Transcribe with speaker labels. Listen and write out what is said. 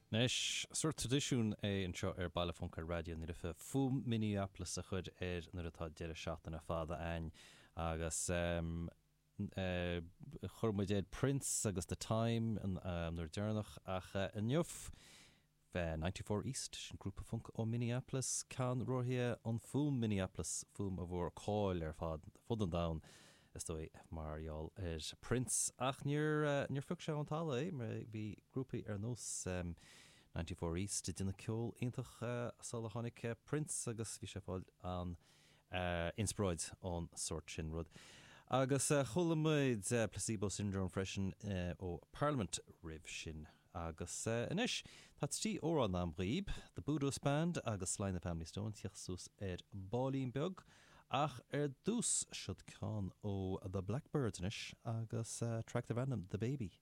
Speaker 1: Anois, sórt traidisiún é anseo ar Baile Func ar Raidió na Life fuaim Minneapolis a chur air nuair atá deireadh seachtaine fada a'ainn agus chuir muid air Prince agus The Time an uair deireanach ach inniu 94 East, sin grúpa func ó Minneapolis, ceannródaithe an fuaim Minneapolis, fuaim a bhfuair cáil ar fad fud an domhain. is dóigh, mar gheall ar Prince. Ach níor, níor phioc sé ón talamh é, mar bhí grúpaí ar nós 94 East ag déanamh ceol iontach sula tháinig Prince agus bhí sé ag fáil an-inspioráid ón sórt sin rud. Agus chuala muid Placebo Syndrome freisin ó Parliament roimh sin. Agus anois, tá 3 amhrán a'm dhaoib, The Budos Band agus Sly and the Family Stone, tíocht suas ar baillín beag, ach ar dtús, siod ceann ó The Blackbyrds anois, agus track darb ainm The Baby.